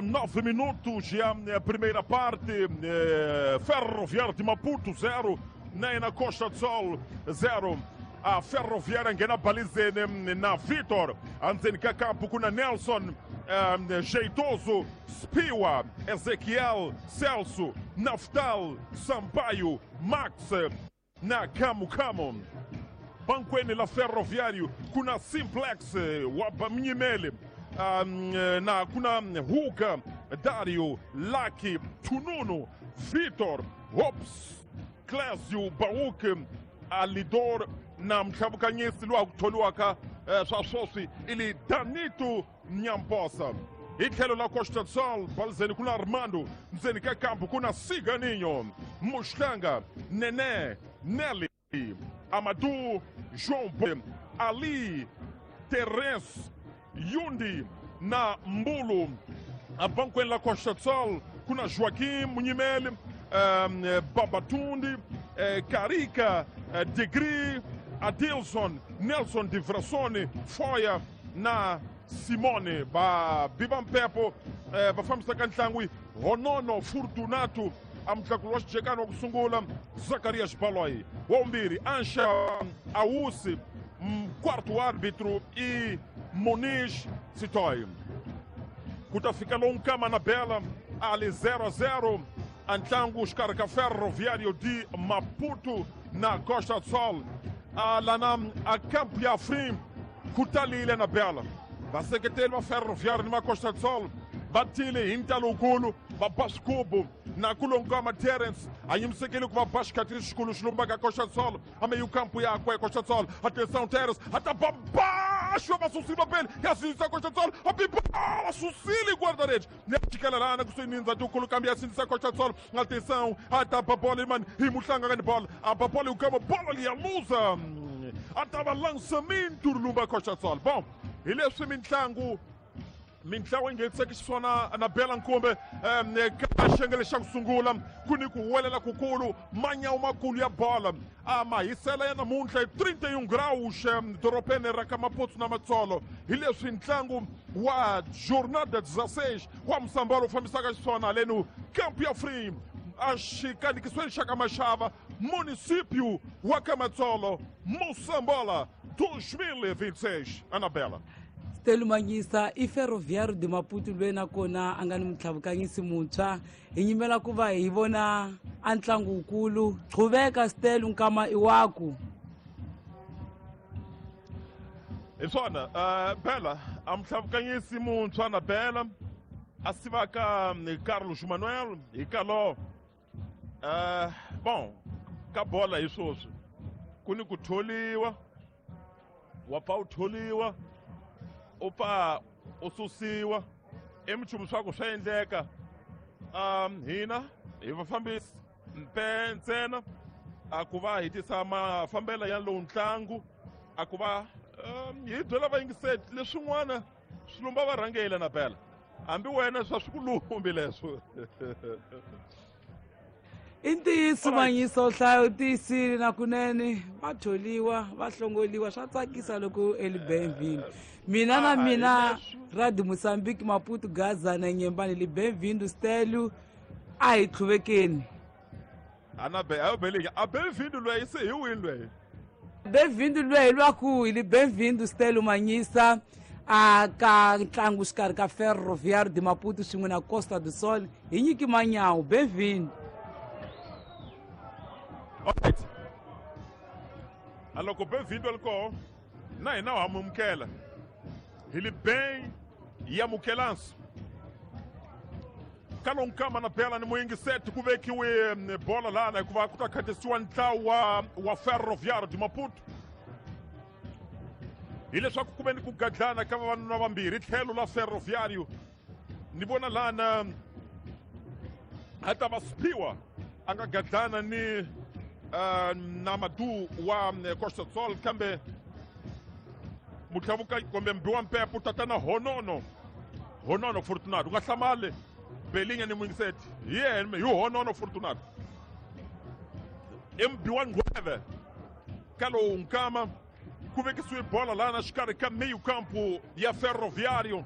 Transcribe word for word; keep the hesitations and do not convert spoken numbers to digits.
Nove minutos já a primeira parte, Ferroviário de Maputo zero, na Costa do Sol zero. A Ferroviária ngena balizeni na Vitor, anzeni ka kuna Nelson, um, Jeitoso, Spiwa, Ezequiel, Celso, Naftal, Sampaio, Max, na Camu Camu. Banquene la Ferroviário, kuna Simplex, Wabamnyimele, um, na kuna Huga, Dario, Laki, Tununu, Vitor, Hops, Clésio, Bauk, Alidor, na mtlhavukanyisi lowa ku tholiwaka swa swoswi ili Danito Nyamposa. Hi tlhelo la Costa do Sol balizeni kuna Armando, ndzeni ka kampu kuna Siganinho, Muxlanga, Nené, Nelly, Amadou, João Bo, Ali, Terence, Yundi na Mbulu. A banquene la Costa do Sol kuna Joaquim Munyimele, um, Babatundi, eh, Carica, eh, Degri, Adilson, Nelson de Vrassone, Foya na Simone. Ba Bibampepo, eh, vafambisa ka ntlangu Honono Fortunato, a mutlakulo wa xijekani wa ku sungula Zacarias Baloi, wa vumbirhi Ansha Awusi, quarto árbitro i Moniz Sitoy. Ku ta fika lowu nkama na bela ali zero a zero a ntlangu xikarhi ka Ferroviário de Maputo na Costa do Sol. A lana a campo ya Afrim ku talile na bela vaseketeli va Ferroviário ni ma Costa do Sol va tile hi ntalo wukulu va ba swigubu na kulonkama Terence a yimisekele ku va ba xikhatiri xikulu xi lumbaka Costa do Sol a meio campo yakwe Costa do Sol. Atenção Terence a ta ba baixo va susile pele ya sindzisa Costa do Sol a biba susile guarda-redes ne chikela lana kusuhi ni ndzati wukulu kambe ya sindzisa Costa do Sol. Atenção a ta ba bola mani hi muhlanga ka ni bola a ba bola yukama bola liya luza a ta va lançamento lumba Costa do Sol. Bom, hi leswi mintlangu mintlangu yi ngheniseke xiswona na bela nkumbe ka xengele xa ku sungula ku ni ku huwelela kukulu manyawu makulu ya bola a mahisela ya namuntlha hi trinta e um graus dorobeni ra ka Maputo na Matsolo. Hi leswi ntlangu wa jornada dezesseis wa Musambalo wu fambisaka xiswona haleno Campo ya Free a xikanikisweni xa ka Maxava, município wa ka Matsolo, Moçambola dois mil e vinte e seis. Anabela Stelu Manyisa i Ferroviário de Maputo loyi nakona a nga ni mutlhavukanyisi muntshwa hi nyimela ku va hi vona a ntlangu wukulu. Qhuveka Stelu, nkama i waku. Hi swona uh, Bela a mutlhavukanyisi muntshwa na Bela a sivaka Carlos Manuel hi kalo uh, bon ka bola hi swoswi ku ni ku tholiwa wa pfa u tholiwa u pfa u susiwa i minchumu swa ku swa endleka. Um hina hi vafambisi mpe ntsena a ku va hi tisa mafambelo ya lowu ntlangu a ku va um, hi byela vayingiseli leswin'wana swi lumba varhangeli na bela hambi wena swa swi ku lumbi leswo. I ntiyiso Manyisa, u hlaya u tiyisile na kunene va tholiwa va hlongoliwa swa tsakisa loko eli bem-vindo. Mina na mina Radio Moçambique Maputo Gaza na Nyembani li bem-vindo Stelu a hi tlhuvekeni. Ana be a belika a bem-vindo loyi se hi wini loyi bem-vindo loyi lwaku hi li bem-vindo Stelu Manyisa a ka ntlangu xikarhi ka Ferroviário de Maputo swin'we na Costa do Sol. Hi nyiki manyawu bem-vindo. Alright. Aloko bem-vindo alko na hina wa amukela hi li bem yamukelanso kalonkama na bela ni muyingiseti ku vekiwe bola lana hikuva ku ta khatisiwa ntlawa wa, wa Ferroviário de Maputo hileswaku ku ve ni ku gadlana ka vavanuna vambirhi tlhelo la Ferroviário ni vona lana a ta va Spiwa a nga gadlana ni uh, na Madu wa Costa do Sol kambe mutlavuka kumbe mbi wa mpepo tatana Honono Honono Fortunato u nga hlamali Belinha ni muyingiseti hi yena hi Honono Fortunato i mbi wa nghweve ka lowu nkama ku vekisiwe bola lana xikarhi ka meio campo ya Ferroviário.